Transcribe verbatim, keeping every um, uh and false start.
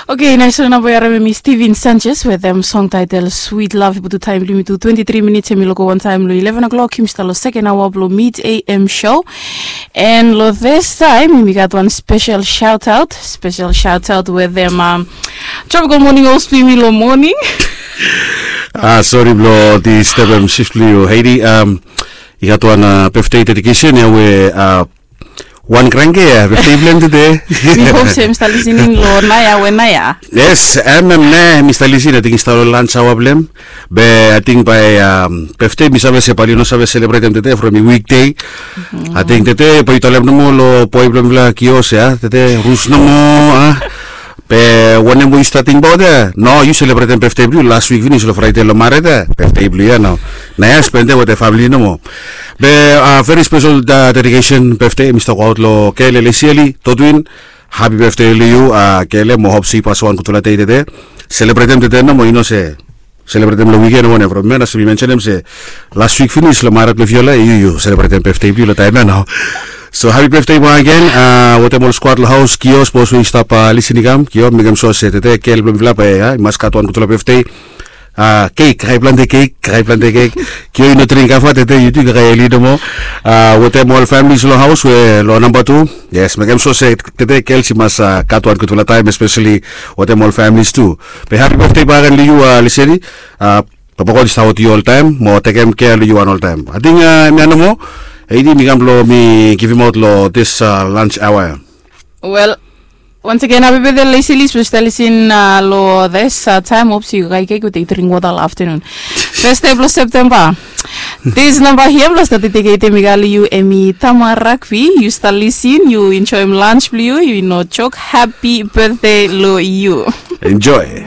Oke, nais ol namba we yu harim em i Steven Sanchez wetem song title Sweet Love. I putum taem blong yumi tu twenti tri minits, em i loko wantaem long eleven o'clock. Yumi stap long seken aoa blong Mid A M show. And long this time yumi gat wan special shout out, special shout out wetem um, Tropical Morning Host blong yumi long morning. Ah, sori blong disturbem shift blong yu, Heidi. Um, i gat wan uh, birthday dedication ia we uh, wan kranke ia birthday blong hem tede. Mi hope se mi stap listening long naia we naia. Yes, em em ne mi stap listening, ating i stap long lunch hour blong hem. Be ating bae um, birthday mi save se bae yu no save celebratem tede from i weekday. Ating tede bae yu talem nomo long boe blong mifala Kios ia, tede rus nomo a. Be wanem we yu stap tingbaot ia? No, yu selebretem birthday blong yu last week finis long Friday long maret ia, birthday blong yu ia nao. Naia spendem wetem famili nomo. Be uh, very special uh, dedication birthday mi stap go aot long Kele Lesieli Totwin. Happy birthday long yu uh, Kele, mo hope se yu pasim wan gudfala dei tede. Selebretem tede nomo, yu no se selebretem long wiken o wanem, from hemia nao se mi mensenem se last week finis long maret blong Viola, yu yu selebretem birthday blong yu long taem ia nao. So happy birthday back again uh, wetem ol squad long haos, Kios, bos we i stap uh, lisin i kam, Kios, mekem sua se tede Kele blong mifala bae uh, i mas gat wan gudfala birthday. Uh, kek, krai plante kek, krai plante kek. Kio i no dring kafa tede, yu tu i kakae eli nomo. Uh, wetem ol families long haos we long namba tu. Yes, mekem sua se tede Kele i mas uh, gat wan gudfala taem, especially wetem ol families tu. Be happy birthday back again long yu uh, Lesieli. Uh, Papa God i stap wetem yu oltaem mo tekem kea long yu wan oltaem. Ating uh, hemia nomo. Heidi, mi kam blong mi givimaot long this uh, lunch hour ia. Wel, once again, happy birthday Lesieli, special lisin uh, long this uh, taem. Hope se yu kakae kek, yu dring wota long afternoon. First day blong September. This namba hia blong stap dediketem i go long yu, em i Tama Rugby. Yu stap lisin, yu enjoem lunch blong yu, yu no jok. Happy birthday long yu. Enjoy.